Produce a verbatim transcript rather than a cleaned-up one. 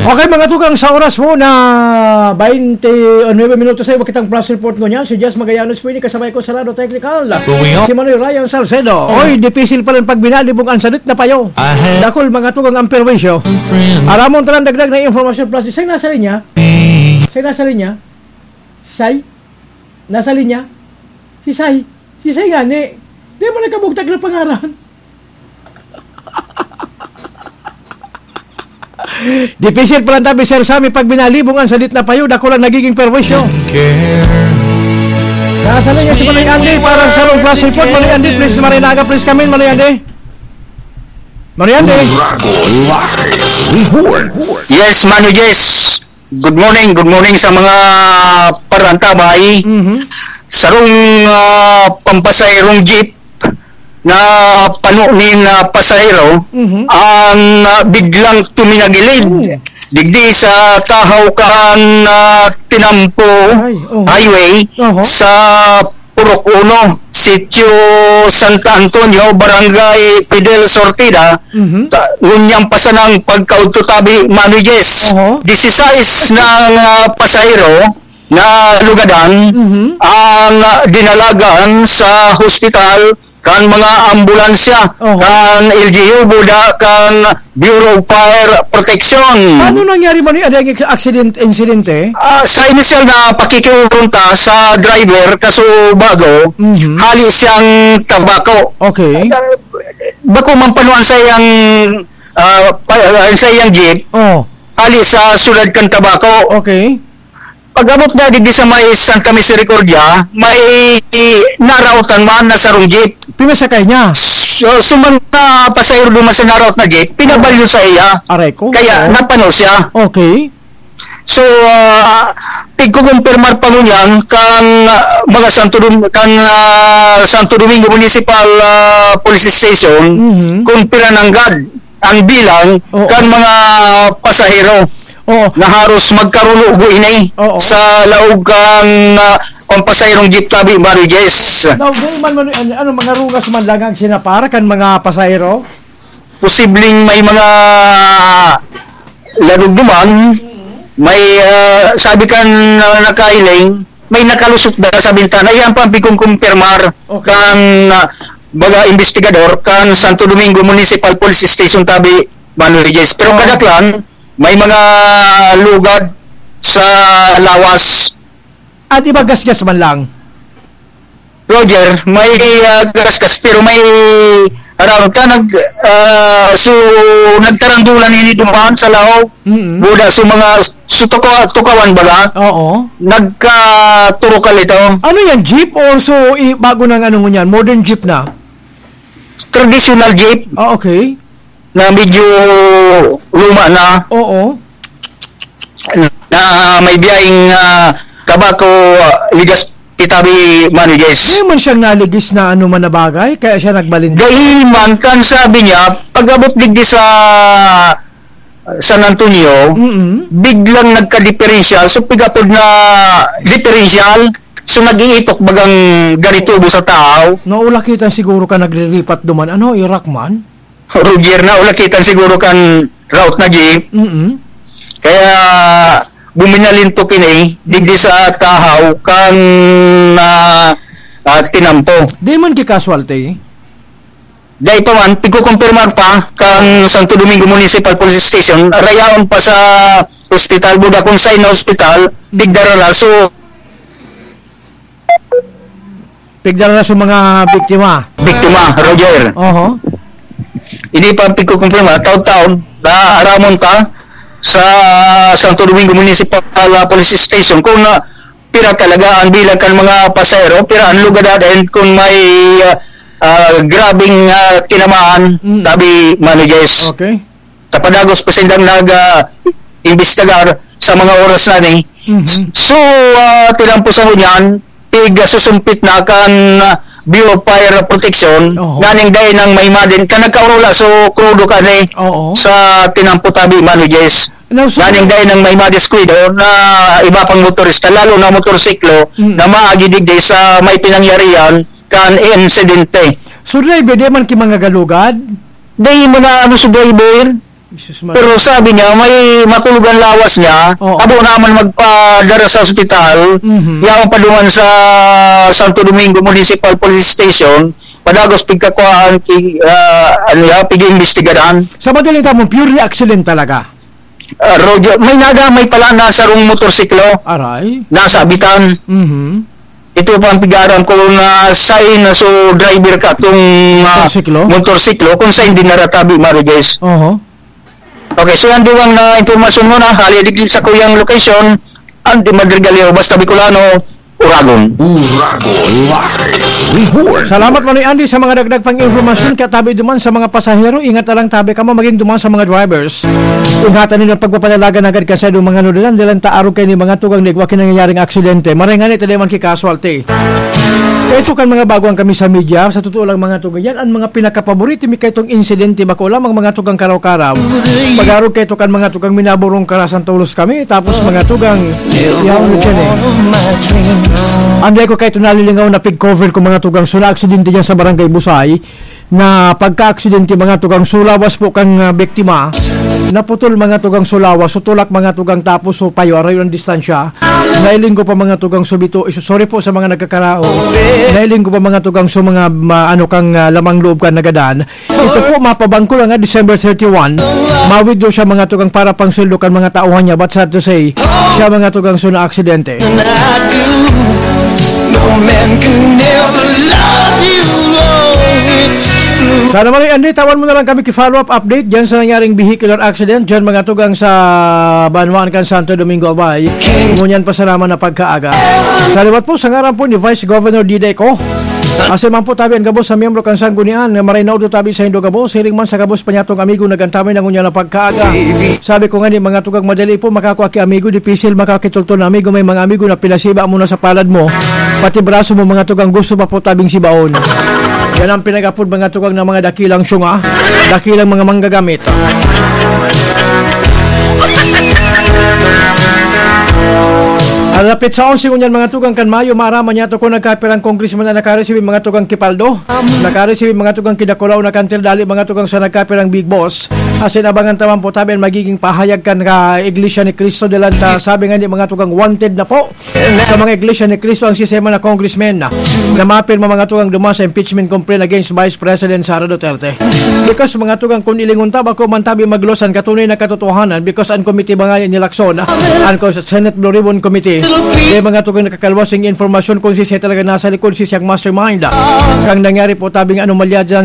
Okay, mga tugang, sa oras mo na baynte o nuebe minutos ay kitang flash report ngunyan. Si Jess Magallanes po ini, kasabay ko sa Lado Technical. Going on. Si Manoy Ryan Salcedo. Oy, dipisil pa rin pag binalibog ang sadit na payo. I had Dakul, mga tugang, ang perwisyo. Friend. Aramon talang dagdag na informasyon plus isang nasa linya. Isang nasa linya. Si Sai? Nasa linya? Si Sai? Si Sai nga ni. Di mo nagkabugtak na pangaran. Dipisil pa lang tabi, Sir Sammy, pag binalibong ang sadit na payo, dako lang nagiging perwisyo. Nasa linya si Manoy Andy para sa sarong flash report. Manoy Andy, please, marinaga, please, kami, Manoy Andy. Manoy Andy. Rago Live Report. Yes, Manoy Jess. Good morning, good morning sa mga parantabay. Mhm. Sarong, ah, pampasaherong jeep na pano nin, ah, pasahero Mhm. ang, ah, biglang tuminagilid Oh. digdi sa tahaw kan, ah, Tinampo Ay, oh. Highway Oho. sa Purok Uno, Sitio Santa Antonio, Barangay Fidel Sortida, Mhm. ta-, ngunyan pa sanang pagkaudto tabi, Manoy Jess. Oho. Disisais na ang, ah, pasahero na lugadan Mhm. ang, ah, dinalagan sa hospital kan mga ambulansya, Oho. kan L G U, buda kan Bureau of Fire Protection. Paano nangyari man yung, ano, yung accident, insidente? Ah, sa inisyal na pakikiurong ta sa driver, kaso bago, Mhm. hali siyang tabako. Okay. Ah, bako man panuan sa iyang, ah, pa-, ah, sa iyang jeep, Oh. hali sa syudad kan Tabaco. Okay. Pag-abot na digdi sa may Santa Misericordia, may naraotan man na sarong jeep. Pinasakay niya? So, so mga pasahero duman sa naraot na jeep, pinabalyo sa iya. Aray ko. Kaya Oo. napano siya. Okay. So, ah, pigkukumpirmar pa ngunyan kan, ah, mga Santo Dom-, kan, ah, Santo Domingo Municipal, ah, Police Station Mhm. kung pira nanggad ang bilang Oo. kan mga pasahero Oo. na haros magkarulo ini Oo. sa laog kan, ah, pampasaherong jeep tabi, Manoy Jess. Now, di man, man, ano, ano, mga rugas man lang ang sinapar kan mga pasahero? Posibleng may mga ladugduman, may, ah, sabi kan, ah, nakailing, may nakalusot na sa bintana. Iyan pa ang pigkukumpirmar Okay. kan, ah, baga investigador kan Santo Domingo Municipal Police Station tabi, Manoy Jess. Pero Oo. kadaklan, may mga lugad sa lawas. At iba gasgas man lang. Roger, may, ah, gasgas, pero may aram ka, nag, ah, so, nagkarandulan ini duman sa laog. Mm-mm. Buda, so, mga, so, tukaw-, tukawan baga, Oo. nagkaturukal ito. Ano yan, jeep or so, i-, bago nang ano ngunyan, modern jeep na? Traditional jeep. Ah, okay. Na medyo luma na. Oo. Na may biyaheng, ah, Tabaco, ah, Legazpi tabi, Manoy Jess. Di man siyang naligis na ano man na bagay, kaya siya nagbalinda. Dai man, kan sabi niya, pag-abot digdi sa San Antonio, Mm-mm. biglang nagka-differential. So, pigapod na differential. So, nag-iitok bagang garitubo sa tao. Naulakitan siguro ka naglilipat duman. Ano, irak man? Roger, naulakitan siguro kan route na jeep. Mm-mm. Kaya buminalintok ini digdi sa tahaw kan, ah, ah, Tinampo. Di man ki casualty? Dai pa man, pigkukumpirmar pa kan Santo Domingo Municipal Police Station, rayaon pa sa ospital, buda kung sain na ospital, pigdara na. So, Pigdara na sa mga biktima. Biktima, Roger. Oho. Hindi pa pigkukumpirma, taon-taon, naaramon ta sa Santo Domingo Municipal, ah, Police Station kung, ah, pira talaga ang bilang kan mga pasahero, pira ang lugad, and kung may, ah, ah, grabeng, ah, tinamaan, Mm. tabi, Manoy Jess. Okay. Tapadagos pa sindang nag, ah, imbestigar sa mga oras na ni. Mhm. So, ah, Tinampo sa ngunyan, pig, ah, susumpit na kan, ah, Bureau of Fire Protection, Oho. naning dai nang may madin, ka nagkaurula, so, krudo ka ni Oo. sa Tinampo tabi, Manoy Jess. Now, so Naning dai nang may madiskuido na iba pang motorista, lalo na motorsiklo, Mm. na maagi digdi sa may pinangyarihan kan insidente. So, driver, di man ki mga galugad? Di mga, ano, sa driver, Jesus Maria. Pero sabi niya, may makulog ang lawas niya. Oo. Abo naman magpadara sa ospital. Mhm. Yaon pa duman sa Santo Domingo Municipal Police Station. Padagos pigkakuhaan, ki-, ah, ano ya, pig-iimbestigaran. Sa madaling tamon, purely accident talaga. Ah, Roger, may nagamay pala na sarong motorsiklo. Aray. Nasa Abitan. Mhm. Ito pa ang pigaram ko na sign na so driver ka tong, ah, Motorsiklo? motorsiklo, kung sign din naratabi, Marites. Oho. Okay, so yan duwang na impormasyon mo na, hali digdi sa kuyang location, ang di madrigalyo, basta Bicolano, Uragon. Uragon Live Report. Salamat, Manoy Andy, sa mga dagdag pang impormasyon. Kaya tabi duman sa mga pasahero, ingat na lang tabi kamo, maging duman sa mga drivers. Ingatan ninyo ang pagpapanalagan agad ka sa inyong mga nulinan, dahil ang taarog kayo ni mga tugang na igwa kinangyayaring aksidente. Maray nga ni, tali man ki casualty. Kaya ito kan mga baguhan kami sa media, sa totoo lang mga tugang, yan ang mga pinakapaborito mi kaitong insidente, bako lamang mga tugang karaw-karaw. Pag-arog kayo kan mga tugang minaborong karasan tolos kami, tapos mga tugang, yaon mo dyan eh. Anday ko kayo nalilingaw na pig-cover ko mga tugang, so na-aksidente dyan sa Barangay Busay, na pagka-aksidente mga tugang, so lawas po kang, ah, biktima, naputol mga tugang, so lawas, so tulak mga tugang, tapos so payo, arayo ang distansya. Nailing ko pa mga tugang, so bito, sorry po sa mga nagkakarao. Nailing ko pa mga tugang, so mga ma-, ano kang, ah, lamang loob ka nagadan. Ito po, mapabangko lang nga, December thirty-one. Ma-withdraw siya mga tugang para pang sweldo kan mga tauhan niya. But sad to say, siya mga tugang so na-aksidente. No man can never love you, oh, it's true. Sana Manoy Andy, tawan mo na lang kami ki follow-up update dyan sa nangyaring vehicular accident dyan mga tugang sa banwaan kan Santo Domingo, Albay. Ngunyan pa sana man na pagkaaga. Sa liwat po, sa ngaran po ni Vice Governor Diday Co. Asin man po tabi an gabos sa miyembro kan Sanggunian, nga maray na udto tabi sa indo gabos, siring man sa gabos pa niyatong amigo na gantamay na ngunyan na pagkaaga. Sabi ko nga ni mga tugang madali po makakua ki amigo, dipisil makakitultol na amigo, may mga amigo na pinasiba mo na sa palad mo, pati braso mo mga tugang gusto pa po tabing sibaon. Yan ang pinag-apod mga tugang ng mga dakilang syunga, dakilang mga manggagamit. Alapit sa onse ngunyan mga tugang kan Mayo, maaraman niyato kung nagkapirang congressman na nakaresibi mga tugang kipaldo, nakaresibi mga tugang kidakulaw na kantil dali mga tugang sa nagkapirang big boss. Asin abangan taman po tabi ang magiging pahayag kan ka Iglesia ni Cristo delanta. Sabi nga ni mga tugang wanted na po sa mga Iglesia ni Cristo ang sistema na congressman na mapirma mga tugang duman sa impeachment complaint against Vice President Sara Duterte. Because mga tugang kun ilingon ta, bako man tabi maglos an katunay na katotohanan because an komite ba nga ni Lacson, an ko-, Senate Blue Ribbon Committee, may mga tugang nakakalwas ning informasyon kung si siya talaga nasa likod, si siyang mastermind. Kang nangyari po tabing anomalya dyan,